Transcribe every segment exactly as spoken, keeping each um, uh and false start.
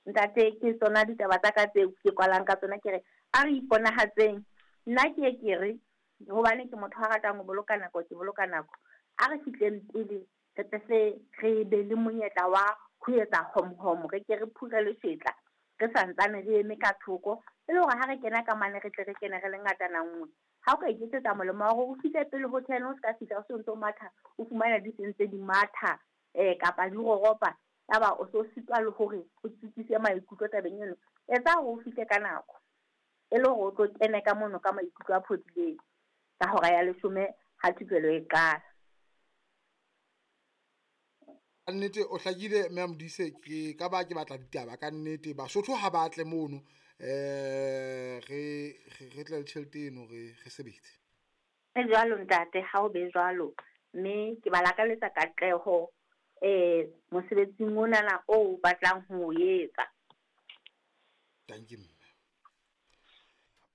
Ntate, ke tsona ditaba tsa ka tseo ke kwalang ka tsona, ke re a re iponahatseng. Nna ke ye ke re hobane ke motho a ratang ho boloka nako, ke boloka nako. A re fihleng pele re tle se re be le monyetla wa ho etsa hom-hom, re ke re phure leshetla re santsane re eme ka thoko, e le hore ha re kena ka mane re tle re kene re le ngatana nngwe. Ha o ka iketsetsa molemo wa hore o fihle pele ho ten, o ska fihla o se ntso matha, o fumana di sentse di matha um kapa di roropa, yaba o so sitwa le hore o tsitsise maikutlo tabeng eno. Etsa hore o fihle ka nako e le hore o tlo kene ka mono ka maikutlo a phodileng ka hora ya leshome ha thupelo e qala. Ka nnete o hlakile mme Modise, ke ka ba ke batla ditaba ka nnete. Basotho ha ba tle mono, um re re tle le tjhelete eno re re sebetse. E jwalo ntate, ha o be jwalo, mme ke ba lakaletsa katleho um mosebetsing onana o batlang ho o etsa. Dankie mme.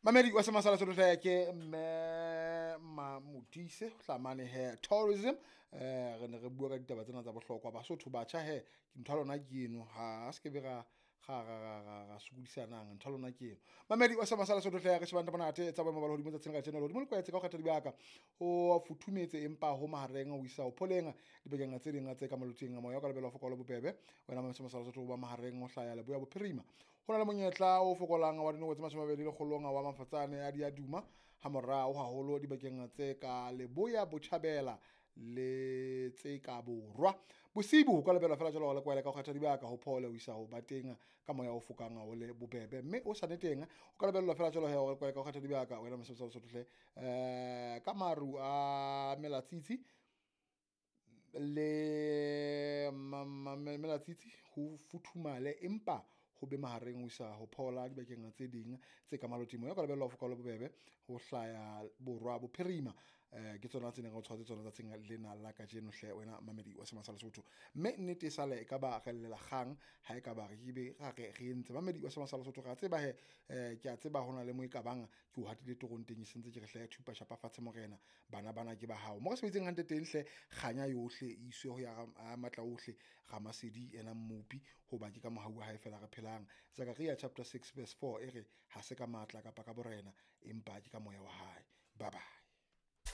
Mamedi wa Semasala Sotho ke mme Mamodise ho tla mane he tourism. Eh re ne re bua ka ditaba tsena tsa bohlokwa. Basotho batjha he, ke ntho ya lona ke eno, ha se ke be ra ra ra ra ra ra sokodisanang, ntho ya lona ke eno. Mamedi wa Semasala Sotho hle re shebang monate tsa boemo ba lehodimo tsatsing la kajeno. Lehodimo le kwetse ka ho kgetha dibaka, ho futhumetse empa ho mahareng ho isa ho pholeng dibakeng tse ding tse ka malotsing. Moya o ka lebelwa ho fokola bobebe wena Semasala Sotho ba mahareng ho hlaya leboya bophirima. Ho na le monyetla o fokolang wa dinoko tse mashome a mabedi lekgolong wa mafatsane a diaduma ha morao haholo dibakeng tse ka leboya botjhabela le tse ka borwa. Bosibu ho ka lebelwa fela jwalo le kwele ka ho kgetha dibaka, ho phole ho isa ho ba teng ka moya o fokang o le bobebe, mme o sa teng o ka lebellwa fela jwalo he o kwele ka ho kgetha dibaka wena Mosebetsi wa Lesotho hle eh ka maru a melatsitsi le melatsitsi ho futhumale empa ho be mahareng ho isa ho phola dibakeng tse ding tse ka maloting. Moya o ka lebellwa ho foka le bobebe ho hlaya borwa bophirima. Eh ke tsona tse neng re o tshwaretse tsona tsatsing lena la kajeno hle wena mamedi wa Semasala Sotho. Mme nnete e sale e ka ba re llela kgang ha e ka ba re ebe ra re re entse. Mamedi wa Semasala Sotho re a tseba he, eh ke a tseba hona le mo e ka bang ke o hatile torong teng, e sentse ke re hle thupa shapa fatshe morena, bana bana ke ba hao. Mo re sebeditseng hantle teng hle, kganya yohle e iswe ho ya matla ohle Ramasedi ena mmopi, hoba ke ka mohau wa hae fela re phelang. Zakaria chapter six verse four e re ha se ka matla kapa ka borena, empa ke ka moya wa hae. Bye bye.